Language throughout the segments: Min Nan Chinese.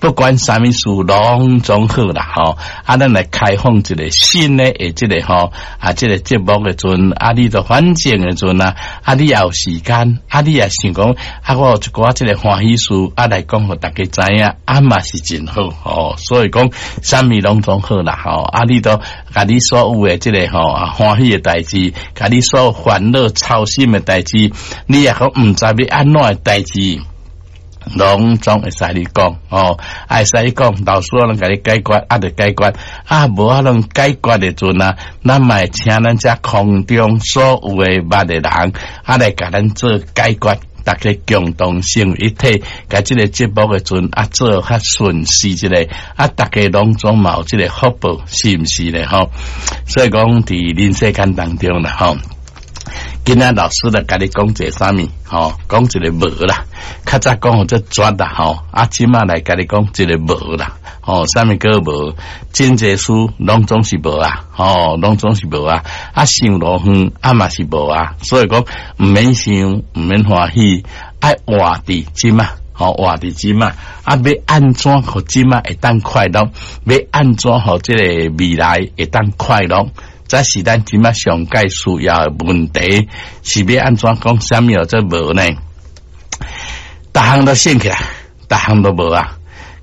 不管啥物事攏總好啦吼。啊，咱來開放一個新的的這個吼，啊，這個節目的陣，啊，你都反正的陣啊，啊，你也有時間，啊，你也想講，啊，我有一寡這個歡喜事，啊，來講予大家知影，啊，嘛是真好吼。所以講，啥物攏總好啦吼。啊，你都共你所有的這個吼啊歡喜的代誌，共你所有煩惱操心的代誌，你也講毋知欲按怎的代誌，攏總會使你講哦，會使你講，老師攏共你解決，啊，就解決，啊，無法度解決的陣啊，咱嘛會請咱遮空中所有的捌的人，啊，來共咱做解決，大家共同成為一體，共這個節目的陣啊做較順勢一個，啊，大家攏總嘛有這個福報，是毋是咧？吼，所以講佇人世間當中啦，吼。今仔老師來共你講一個啥物？吼，講一個無啦。較早講予足絕啦，吼。啊，這馬來共你講一個無啦，吼，啥物叫無？真濟事攏總是無啊，吼，攏總是無啊。啊，想偌遠啊嘛是無啊。所以講毋免想，毋免歡喜，愛活佇這馬，吼，活佇這馬。啊，欲按怎予這馬會當快樂？欲按怎予這個未來會當快樂？這是咱這馬上蓋需要的問題，是欲按怎講？啥物叫做無呢？逐項都省起來，逐項都無啊！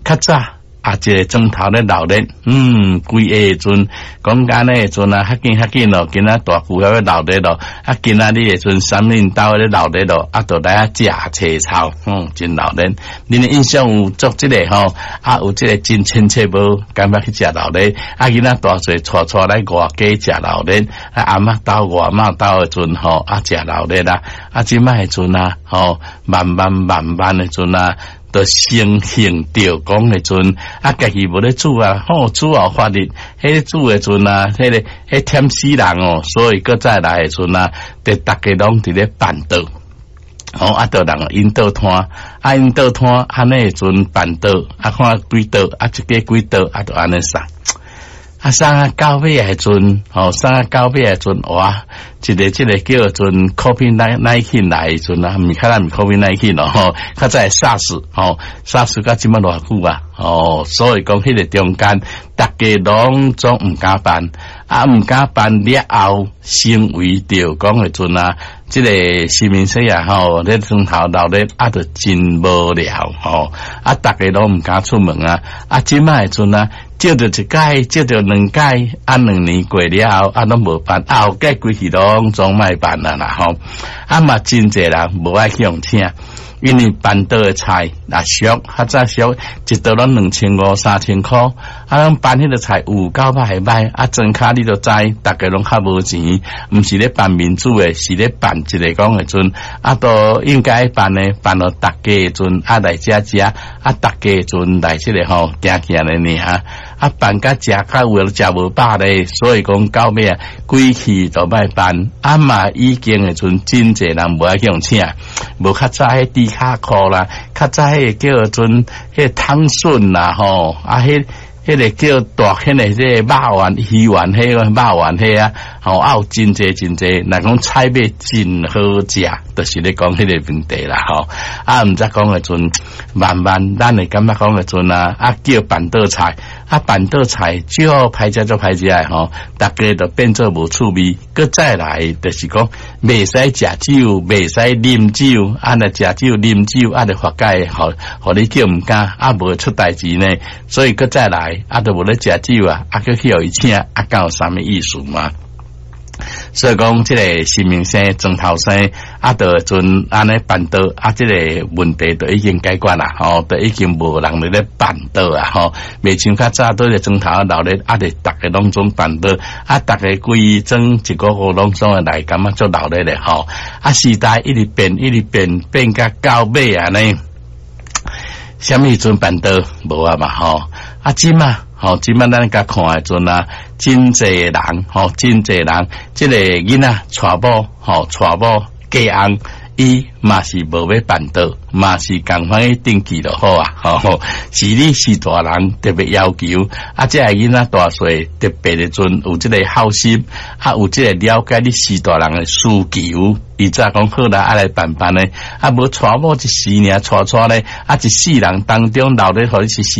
較早啊，一个鐘頭咧鬧熱，規个陣講按呢的陣啊，較緊較緊咯，今仔大舊遐咧鬧熱咯，啊，今仔日的陣三恁兜咧鬧熱咯，啊，就來遐食青草，真鬧熱。恁的印象有足這個吼，啊，有這個真親切無？感覺去食鬧熱，啊，囡仔大細帶帶來外家食鬧熱，啊，阿嬤兜外媽兜的陣吼，啊，食鬧熱啦，啊，這擺的陣啊，吼，慢慢慢慢的陣啊。就成形著講的陣，啊，家己無咧煮啊，吼，煮後發熱，彼個煮的陣啊，彼個彼忝死人哦，所以閣再來的陣啊，就逐家攏佇咧辦桌，吼，啊，就人𪜶倒攤，啊，𪜶倒攤，按呢的陣辦桌，啊，看幾桌，啊，一家幾桌，啊，就按呢送。啊，送啊到尾的陣，吼，送啊到尾的陣，哇，一個這個叫做 COVID-19 來的陣啊，毋是較早毋是 COVID-19 咯，吼，較早 SARS，吼，SARS 到這馬偌久啊，哦，所以講彼個中間，逐家攏總毋敢辦，啊，毋敢辦了後，成為著講的陣啊，這個市民生啊，吼，咧床頭鬧熱啊，就真無聊，吼，啊，逐家攏毋敢出門啊，啊，這馬的陣啊。照著一擺，照著兩擺，啊，2年過了後，啊，攏無辦，啊，後蓋規氣攏總莫辦啊啦吼，啊嘛真濟人無愛去予請，因為辦桌的菜若俗，較早俗，一桌攏2500、3000箍，啊，攏辦彼个菜有夠歹歹，啊，莊跤你就知，逐家攏較無錢，毋是咧辦民主的，是咧辦一個講的陣，啊，都應該辦的，辦予逐家的陣，啊來遮食，啊，逐家的陣來這個吼，行行咧爾。啊，辦甲食較有食無飽咧，所以講到尾啊，規氣都莫辦。啊嘛，已經的陣真濟人無愛去予請，無較早彼豬跤褲啦，較早彼個叫做彼個湯筍啦吼，啊，彼個叫大彼個這個肉丸魚丸，彼個肉丸彼啊，吼啊有真濟真濟，若講菜尾真好食，就是咧講彼個問題啦吼。啊，毋知講的陣，慢慢咱會感覺講的陣啊，啊叫辦桌菜，啊辦桌菜少歹食足歹食的吼，逐家就變做無趣味。閣再來就是講，袂使食酒，袂使啉酒，啊若食酒啉酒，啊就罰解，予你叫毋敢，啊無出代誌呢。所以閣再來。啊，都無咧食酒啊，啊，閣去予伊請，啊，敢有啥物意思嗎？所以講，這個新明星莊頭生啊，就陣按呢辦桌，啊，這個問題就已經解決啦，吼，就已經無人佇咧辦桌啊，吼，袂像較早佇咧莊頭鬧熱，啊，就逐家攏總辦桌，啊，逐家規莊一個個攏總會來，感覺足鬧熱咧，吼，啊，時代一直變，一直變，變甲到尾按呢。啥物時陣辦桌無啊嘛吼，啊這馬吼，這馬咱共看的陣啊，真濟人吼，真濟人，這個囡仔娶某吼，娶某嫁翁，伊嘛是無欲辦桌，嘛是仝款去登記就好啊，吼，是你是大人特別要求，啊，這个囡仔大細特別的陣有這個孝心，啊，有這個了解你是大人的需求。伊才講好啦，啊來辦辦呢，啊無娶某一時爾，娶娶咧，啊一世人當中留咧，予你是。